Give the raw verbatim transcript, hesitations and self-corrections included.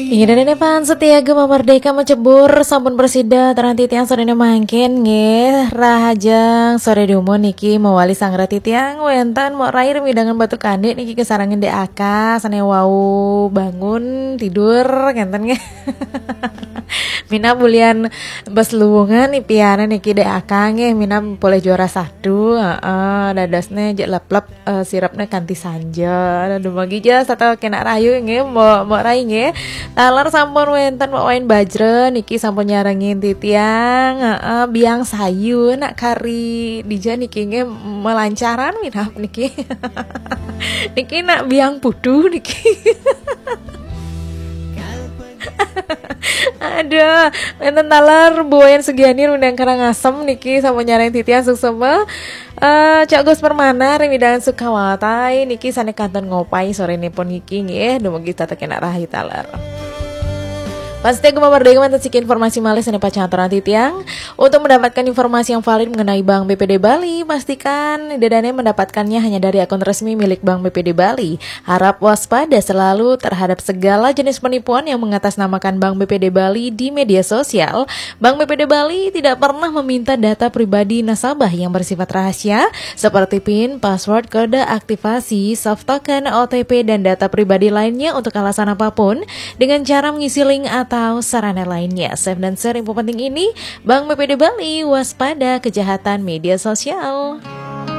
Inggih, dene pan setia Gema Merdeka Mecebur sampun presida teranti tiang sore mangkin nggih. Rahajeng sore dumun niki mewali sang rati tiang wenten Mok Rai remidangan Batu Kandik niki kesarengin D A K sane wau bangun tidur ngenten nggih. Minab bulian bes luwungan ipiana niki D A K nggih, minab polih juara satu, heeh, dadosne jek lep-lep eh, sirapnya kanti sanja. Aduh, magi ja satu kena rayu nggih, Mok, Mok Rai nggih. Taler sampun wenten Mok Wain Bajra niki sampun nyarengin titiang, heeh, biang sayu nak kari dija niki nggih melancaran minab niki. Niki nak biang putu niki. Aduh, wenten taler Bu Wayan Sugiani rundang Karangasem niki sampun nyarengin titiang suksma. Eh, Cak Gus Permana remidangan Sukawatai niki sane kantun ngopai sore nipun niki nggih, dumugi tetep kena rahi taler. Pasti Gema Merdeka wenten siki informasi malih sane pacang aturan titiang. Untuk mendapatkan informasi yang valid mengenai Bank B P D Bali, pastikan dedane mendapatkannya hanya dari akun resmi milik Bank B P D Bali. Harap waspada selalu terhadap segala jenis penipuan yang mengatasnamakan Bank B P D Bali di media sosial. Bank B P D Bali tidak pernah meminta data pribadi nasabah yang bersifat rahasia, seperti pin, password, kode aktivasi, soft token, O T P, dan data pribadi lainnya untuk alasan apapun, dengan cara mengisi link atau sarana lainnya. Save dan share info penting ini, Bank B P D Bali, waspada kejahatan media sosial.